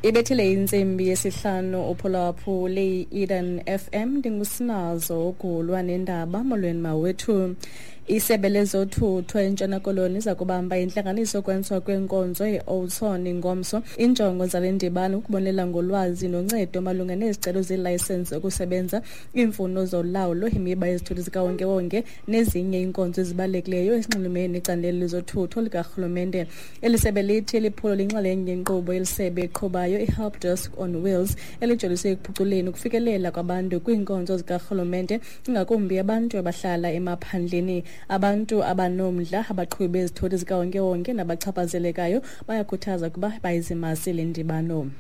Ibethile intsimbi yesihlanu uphulaphule i-Eden FM. Ndingusinazo ugulwa nendaba. Molweni mawethu. Isebe lezothutho eNtshona Koloni iza kubamba intlanganiso yokwenziwa kweenkonzo e-Oudtshoorn ngomso. Iinjongo zale ndibano ukubonelela ngolwazi noncedo malunga nezicelo zeelayisensi zokusebenza, iimfuno zolawulo, imiba yezithuthi zikawonkewonke nezinye iinkonzo ezibalulekileyo ezinxulumene necandelo lezothutho likarhulumente. Eli sebe lithi eli phulo linxalenye yenkqubo elisebe eqhubayo i-Help Desk on Wheels, elijolise ekuphuculeni ukufikelela kwabantu kwiinkonzo zikarhulumente, ingakumbi abantu abahlala emaphandleni. Abantu abanomdla, abaqhubi bezithuthi zikawonkewonke nabachaphazelekayo bayakhuthaza ukuba bayizimase le ndibano.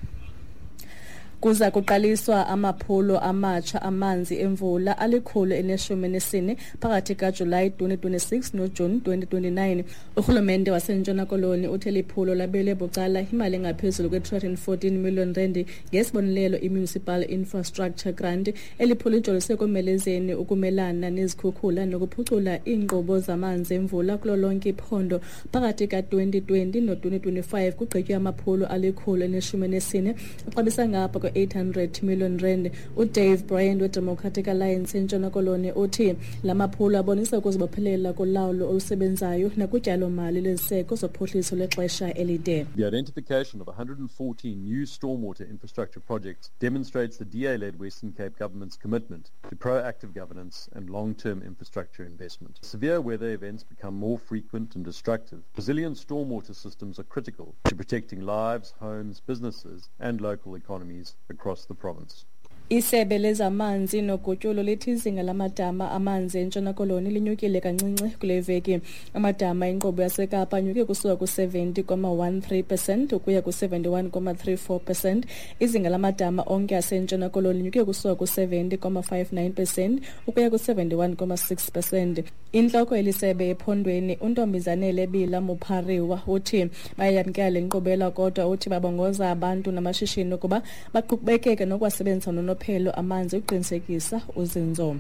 Kuza kuqaliswa amaphulo amatsha amanzi emvula 114 phakathi kaJulayi 2026 noJuni 2029. Urhulumente waseNtshona Koloni uthe liphulo labelwe bucala imali engaphezulu kwe-314 million rand ngesibonelelo i-Municipal Infrastructure Grant. Eli phulo lijolise ekomelezeni ukumelana nezikhukhula nokuphucula iinkqubo zamanzi emvula kulo lonke iphondo. Phakathi ka-2020 no-2025 kugqitywe amaphulo 114 axabisa ngapha kwe-800 million rand. UDave Bryant weDemocratic Alliance eNtshona Koloni uthi la maphulo abonisa ukuzibophelela kolawulo olusebenzayo nakutyalomali lweziseko zophuhliso lwexesha elide. The identification of 114 new stormwater infrastructure projects demonstrates the DA-led Western Cape government's commitment to proactive governance and long-term infrastructure investment. Severe weather events become more frequent and destructive. Resilient stormwater systems are critical to protecting lives, homes, businesses and local economies across the province. Isebe lezamanzi nogutyulo lithi izinga lamadama amanzi eNtshona Koloni linyukile kancinci kule veki. Amadama enkqubo yaseKapa anyuke kusuka ku-70,13% ukuya ku-71,34%. Izinga lamadama onke aseNtshona Koloni linyuke kusuka ku-70,59% ukuya ku-71,6%. Intloko elisebe ephondweni uNtombizanele Bila Muphariwa uthi bayayamkela le nkqubela, kodwa uthi babongoza abantu namashishini ukuba baqhubekeke nokuwasebenzisa nonophelo amanzi ukuqinisekisa uzinzo.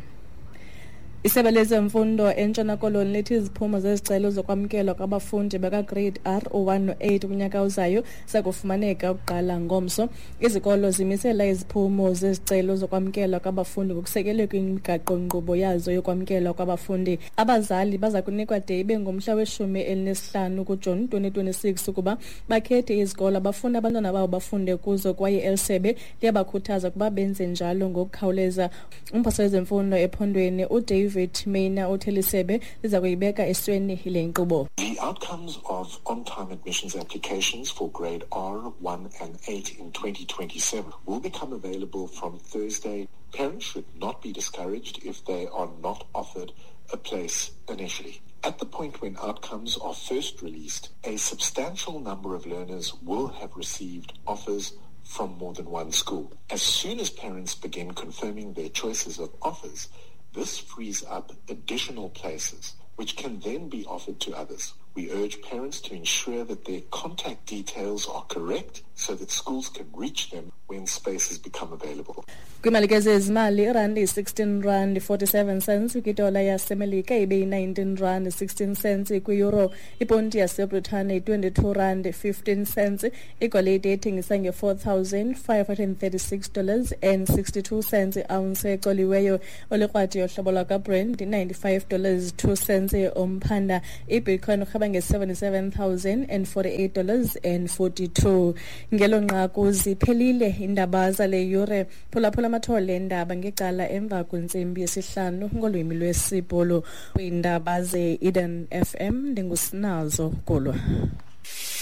Isebe lezemfundo eNtshona Koloni lithi iziphumo zezicelo zokwamkelwa kwabafundi bakaGrade R u-1 no-8 kunyaka ozayo zakufumaneka ukuqala ngomso. Izikolo zimisela iziphumo zezicelo zokwamkelwa kwabafundi ngokusekelwe kwimigaqo-nkqubo yazo yokwamkelwa kwabafundi. Abazali baza kunikwa de ibe ngumhla we-15 kuJuni 2026 ukuba bakhethe izikolo abafuna abantwana babo bafunde kuzo, kwaye eli sebe liyabakhuthaza ukuba benze njalo ngokukhawuleza. Umphathiswa wezemfundo ephondweni uDavid Maina uthi lisebe liza kuyibeka esweni le nkqubo. The outcomes of on-time admissions applications for grade R, 1 and 8 in 2027 will become available from Thursday. Parents should not be discouraged if they are not offered a place initially. At the point when outcomes are first released, a substantial number of learners will have received offers from more than one school. As soon as parents begin confirming their choices of offers, this frees up additional places, which can then be offered to others. We urge parents to ensure that their contact details are correct so that schools can reach them when spaces become available. Kwimali ke zezimali, irandi yi-16 rand 47 cents kwidola yaseMelika, ibe yi-19 rand 16 cents kwi-euro. Iponti yaseBritane yi-22 rand 15 cents. Igolide ethengisa nge-$4,536 and 62 cents i-ounce ecoliweyo. Olikrwadi yohlobo lwakwaBrent i-$95 2 cents umphanda. Ibitcoin urheba nge-$77,048 and 42. Ngelo nqaku ziphelile iindaba zale yure. Phulaphula amathole endaba ngecala emva kwentsimbi yesihlanu ngolwimi lwesiBhulu. Kwiindaba ze-Eden FM, ndingusinazo Gulwa.